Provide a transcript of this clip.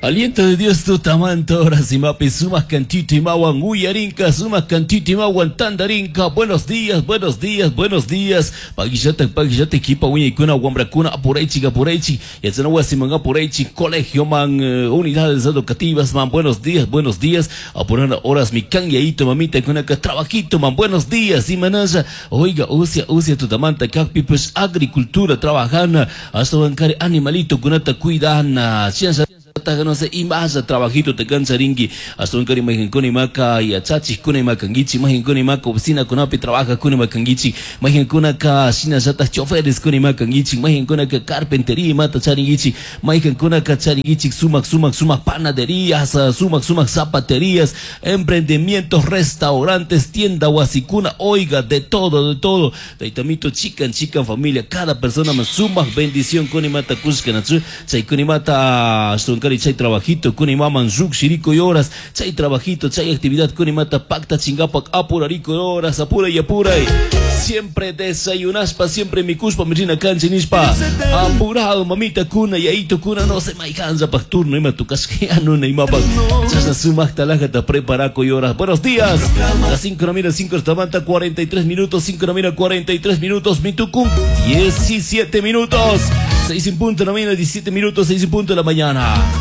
Aliento de Dios tutamanta horas imapi sumak kantito imawan uyarinka sumak kantito imawan tandarinka. Buenos días, buenos días, buenos días. Paguillata, paguillata equipa wiñaykuna wambrakuna apuraychik apuraychik yachana wasiman apuraychik colegio man unidades educativas man. Buenos días, buenos días. Apurana horas mi kan yaito mamita kunaka trabajito man. Buenos días imanalla. Oiga, usia, usia tutamanta kakpi pues agricultura trabajana ashtawankari animalito kunata cuidana. Ciencia no sé, imasa trabajito te cansaringi, ashtawankari mayqankuna imaka yachachikuna ima kankichik, mayqankuna imaka oficinakunapi trabajajkuna ima kankichik, mayqankunaka shinallatak chofereskuna ima kankichik, mayqankunaka carpintería imata charinkichik, mayqankunaka charinkichik sumak sumak sumak panaderías, sumak sumak zapaterías, emprendimientos, restaurantes, tienda wasikuna, oiga, de todo, de todo. Taytamito chikan chikan familia, cada persona más sumak bendición kuna imata kushkanachu, chay kuna imata ashtawankari chay trabajito kuna imaman lluqshirikuy horas, chay trabajito, chay actividad kuna imata pactachingapak apurarikuy horas, apuray apuray. Siempre desayunaspa, siempre mikuspa, mirina kanchi nishpa. Apurado, mamita kuna, yaito kuna, no sé, mayqanllapak turno ima tukashka nuna imapak. Chashna sumakta lajata preparakuy horas. Buenos días. Las 5 de la mañana, 5 de la mañana, 43 minutos, 5 de la mañana, 43 minutos, mitucum, 17 minutos. 6 en punto de la mañana, 17 minutos, 6 en punto de la mañana.